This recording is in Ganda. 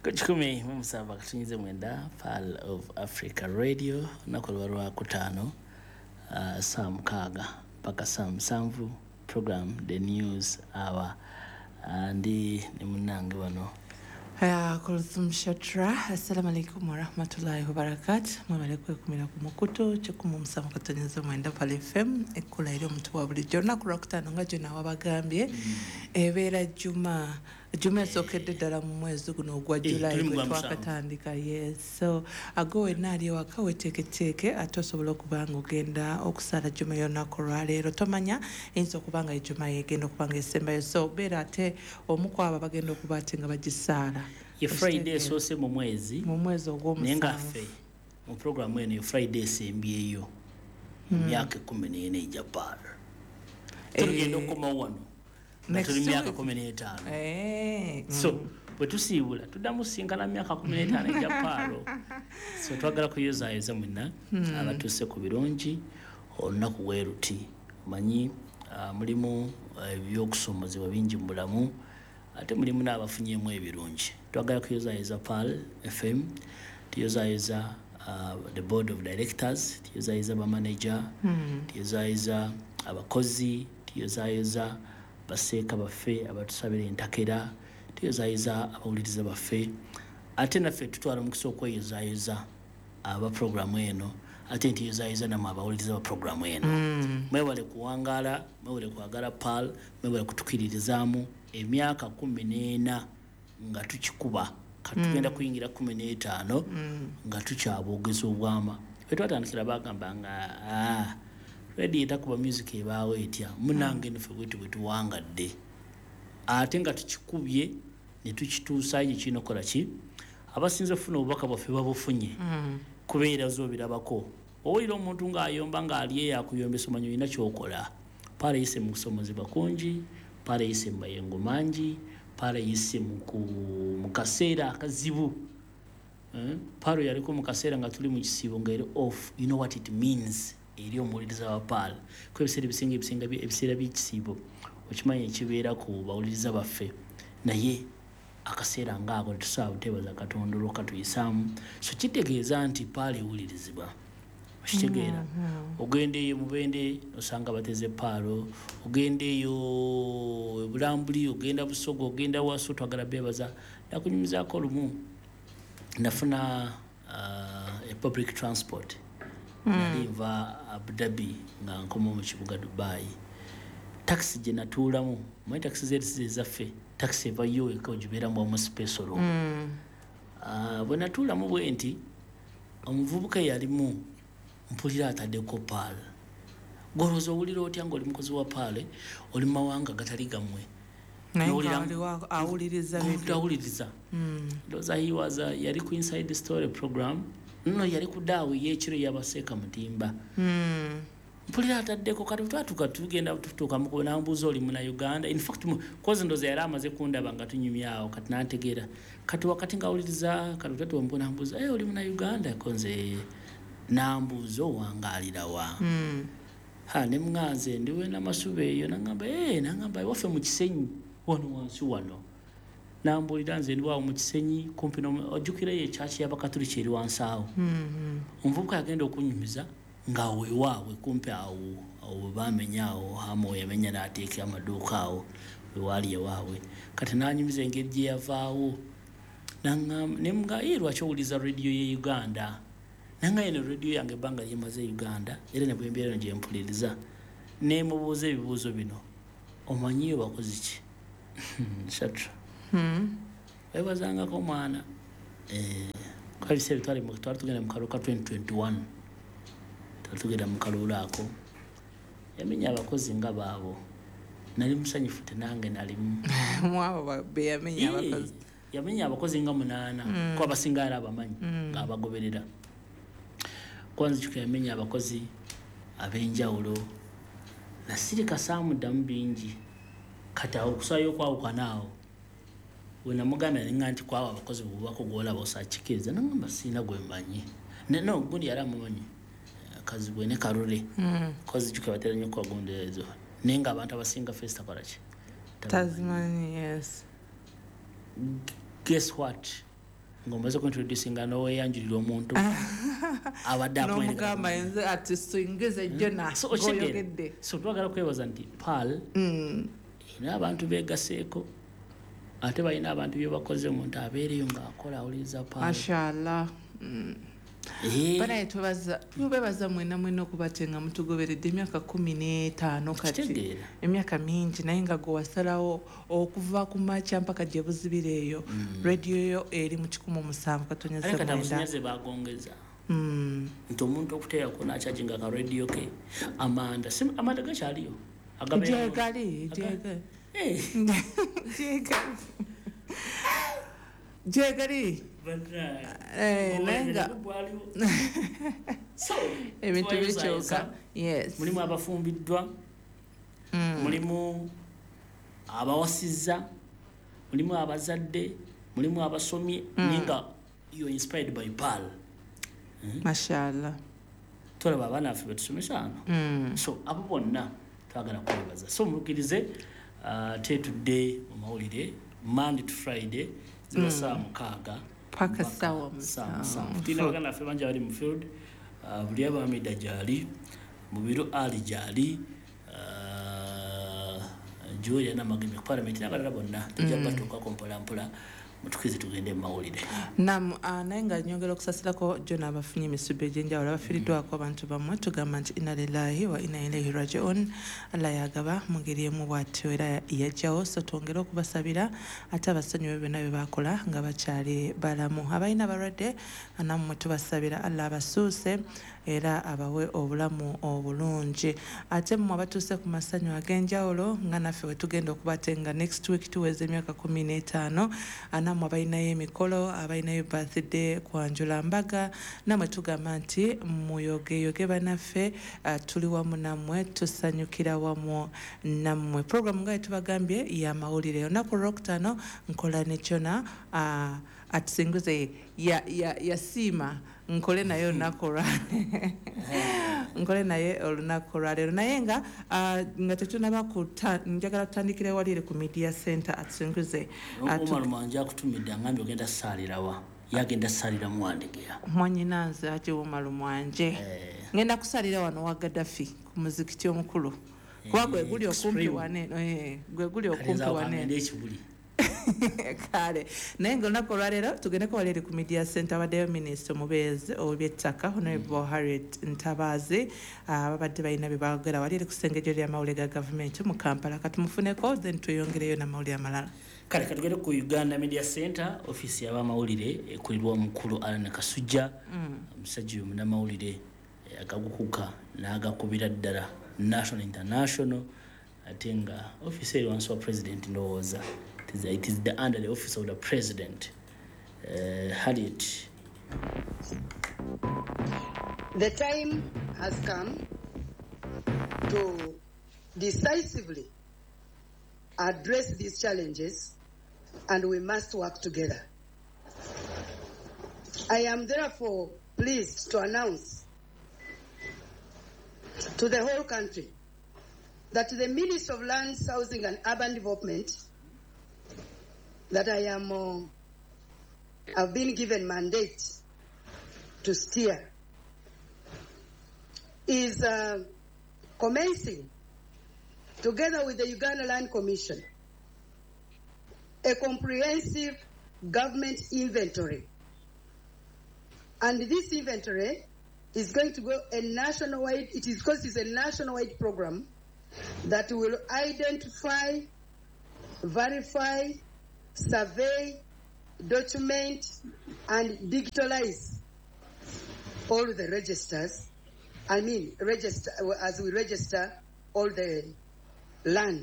Ku 107.9 Pearl of Africa Radio, olunaku luba lwakutaano, saa 6 mpaka saa 7, program The News Hour. Ndi ne munnange wano Kulthum Shatra. Assalamu alaikum warahmatullahi wabarakatu. Mwebale kwekumira ku mukutu 107.9 Pearl FM, ekkula eri omuntu wa bulijjo. Olunaku lwakutaano nga gyonna wabagambye, ebeera Juma, Juma esookedde ddala mu mwezi guno ogwa July Tuli mu gwe gwa musanvu. twakatandika. Yes, so ago wenna ali ewaka weteeketeeke ate osobola okuba nga ogenda okusaala Juma y'olunaku olwaleero. Tomanya, eyinza okuba nga ejuma yegenda okuba nga esembayo, so beera ate omu ku abo abagenda okuba ate nga bagisaala. Ye Friday esoose mu mwezi, mu mwezi naye nga ogw'omusanvu. Ffe mu programu eno ye Friday esembyeyo mu myaka 14 egya Pearl. Tugenda okukomawo wano nga Next tuli mu myaka week. 15. So bwe tusiibula tuddamu sinkana myaka 15 egya Pearl. So twagala kuyozaayoza mwenna abatuuse ku birungi olunaku bwe luti. Omanyi, mulimu ebyokusomozebwa bingi mu bulamu, ate mulimu n'abafunyemu ebirungi. Twagala kuyozaayoza Pearl FM, tuyozaayoza the board of directors, tuyozaayoza bamanager, tuyozaayoza abakozi, tuyozaayoza baseeka baffe abatusabira entakera, tuyozaayoza abawuliriza baffe, ate naffe tutwala omukisa okweyozaayoza aba programu eno, ate ntiyozaayoza nammwe abawuliriza ba programu eno. Mwebale kuwangaala, mwebale kwagala Pearl, mwebale kutukiririzaamu emyaka 14 nga tukikuba. Kati tugenda kuyingira 15 nga tukyaboogeza obwama. Bwe twatandikira bagamba nga radio etakuba music ebaawo etya? Munange nffe bwetu bwe tuwangadde, ate nga tukikubye ne tukituusayo gye kirina okukola ki. Abasinze okufuna obubaka bwaffe babufunye, kubeera zoobirabako. Owulira omuntu ng'ayomba ng'ali eyo akuyombesa, omanyi olina ky'okola. Pearl eyise mu kusomozebwa kungi, Pearl eyise mu mayengo mangi, Pearl eyise mu kaseera akazibu. Pearl yaliko mu kaseera nga tuli mu kisiibo nga eri off. You know what it means eri omuwuliriza wa Pearl, ko ebiseera ebisinga ebiseera by'ekisiibo okimanyi ekibeera ku bawuliriza baffe, naye akaseera ng'ako tetusobola buteebaza Katonda olw'okatuyisaamu. So kitegeeza nti Pearl ewulirizibwa, okitegeera? Ogenda eyo Mubende osanga bateze Pearl, ogenda eyo Bulambuli, ogenda Busoga, ogenda Waso. Twagala beebaza. Nakunyumizaako lumu nafuna a public transport, nali nva Abu Dhabi nga nkoma mu kibuga Dubai. Takisi gye natuulamu, manyi takisi zeri ezaffe, takisi evayo eka ogibeeramu wamu special. Bwe natuulamu bwe nti, omuvubuka eyalimu mpulira ataddeko Pearl. Golowooza owulira otya ng'oli mukozi wa Pearl, oli mu mawanga gatali gammwe, naye nga N'owulira- waliwo awuliriza omuntu radio. Awuliriza. Ndowooza he was yali ku Inside Story program, nno yali ku daawe y'ekiro yabaseeka Mutimba. Mpulira ataddeko. Kati twatuuka tugenda tutuuka mukubo, nambuuza, "Oli muna Uganda?" In fact kozi ndowooza yali amaze kundaba nga tunyumyawo, kati nantegeera. Kati wakati ngaawuliriza, kati tatuwa, nambuuza, "Hey, oli muna Uganda?" Ko nze, nambuuza, "Owangaalirawa?" Ha, ne muŋŋanze ndiwe Namasuba eyo. Naŋŋamba, "Eh," naŋŋamba, "ewaffe mu Kisenyi wano wansi wano." Nambuulira, "Nze ndiwawo mu Kisenyi kumpi ojjukirayo ekyaki y'Abakatuliki eri wansi awo?" Omuvubuka yagenda okunyumiza nga wewaabwe kumpi awo awo we bamenya awo, hamu we yamenya n'ateeka amaduuka awo wewaali ewaabwe. Kati n'anyumiza engeri gye yavaawo. Naŋŋamba, ne muga, "Ye lwaki owuliza rediyo ye Uganda?" Nanga eno rediyo yange ebbanga lyemaze e Uganda, era ne bwembeera eno gye mpuliriza. Nemubuuza ebibuuzo bino, "Omanyiyo bakozi ki?" Shatra, webazangako omwana. Kuba ebiseera twali tugenda mu kalulu ka 2021, twali tugenda mu kalulu ako, yamenya abakozi nga baabo. Nali musanyufu, tenange nalimu. Mwabo be yamenya abakozi. Yamenya abakozi nga 8, ko abasinga yali abamanyi ng'abagoberera. Kwanza kika yamenya abakozi ab'enjawulo. Nasirika, saamuddamu bingi. Kati awo okusaayo okwawukana awo we namugamba, nenga nti kwabo abakozi bwobako gwolaba osakikiriza? Nagamba, "Siina gwe mmanyi." No gundi yali amumanyi, Kazibwe ne Kalule. Kozi juka batera nnyo okuba gundi ezo, naye nga abantu abasinga face takola ki? Tazimanyi, yes. Guess what? Ng'omaze kuintroducinga n'oweyanjulira omuntu abadde n'omugamba nze ati singize Jona So, okitegeera? Ng'oyogedde. So twagala kwebaza nti Pearl erina abantu beegaseeko, ate balina abantu bye bakoze, omuntu abeereyo ng'akola awuliriza Pearl. Mashallah. Banaye tubebaza mwena mwena okuba te nga mutugoberedde emyaka 15 kati. Kitegeera. Emyaka mingi, naye nga gwe wasalawo okuva ku makya mpaka gye buzibira eyo, rediyo yo eri mu 107 katonyeza Ate kati 9. Amasanyalaze bagongeza nti omuntu okuteerako n'acharginga ka rediyo ke amanda, amanda gakyaliyo. Gyegali, gyegali. Gyegali, gyegali. Naye nga ebintu bikyuka, yes. Mulimu abafumbiddwa, mulimu abawasizza, mulimu abazadde, mulimu abasomye, naye nga you inspired by Pearl. Mashallah. Tolaba abaana baffe betusomesa wano. So abo bonna twagala kwebaza. So mulukirize, tetudde mu mawulire Monday to Friday, ziba 6:00 paka mpaka ssaawa ssaawa 7. 7. Tulina baganda baffe bangi abali mu field. Buli abamida gyali Mubiru Ali gyali, Julia Namagemi ku parliament n'abalala bonna tujja batuukako mpola mpola. Mutukirize tugende mu mawulire. Nam, naye nga nyongera okusasirako Jona abafunye emisubi egy'enjawulo, abafiiriddwako abantu bammwe, tugamba nti inna lillahi wa inna ilaihi rajiun. Allah yagaba mu ngeri emu bw'atyo era yajjawo, so twongere okubasabira ate abasonyiwe byonna bye bakola nga bakyali balamu. Abalina abalwadde nammwe tubasabira Allah abasuuse era abawe obulamu obulungi. Ate mmwe abatuuse ku masanyu ag'enjawulo nga naffe we tugenda okubate nga next week tuweza emyaka 15, nammwe abalinayo emikolo, abalinayo birthday, kwanjula mbaga, nammwe tugamba nti muyogeyoge bannaffe, tuli wamu nammwe, tusanyukira wamu nammwe. Program nga tubagambye y'amawulire olunaku olwokutaano nkola ne Jona, atusinguze yasiima nkole naye olunaku olwa nkole naye olunaku olwaleero. Naye nga tetunaba njagala tutandikire wali ku media center atusinguze. Omar Mwanje akutumidde angambye ogenda ssaalirawa, yagenda ssalira Muwandegeya. Mwannyinaze ate Omar Mwanje. Ngenda kusalira wano wa Gaddafi ku muzikiti omukulu, kuba gwe guli okumpi Extreme. Wane, gwe guli Kale okumpi nze awo wane. kangende ekibuli. Kale naye nga olunaku olwaleero tugendeko wali eri ku media center, abaddeyo minisita omubeezi ow'ebyettaka Honorable Harriet Ntabaazi, babadde balina bye baagera wali eri ku ssengejjo ly'amawulire ga gavumenti mu Kampala. Katumufuneko then tweyongereyo n'amawulire amalala. Kale katugende ku Uganda Media Center, ofiisi y'abamawulire ekulirwa omukulu Alan Kasujja. Omusajja oyo munnamawulire, agagukuka n'agakubira ddala national, international, ate nga ofiisi eri wansi wa president, ndowooza it is the under the office of the president. Harriet. The time has come to decisively address these challenges, and we must work together. I am therefore pleased to announce to the whole country that the Minister of Lands, Housing and Urban Development, that I am, have been given mandate to steer, is commencing, together with the Uganda Land Commission, a comprehensive government inventory. And this inventory is going to go a nationwide, it is because it's a nationwide program that will identify, verify, survey, document, and digitalize all the registers. I mean, register, as we register all the lands.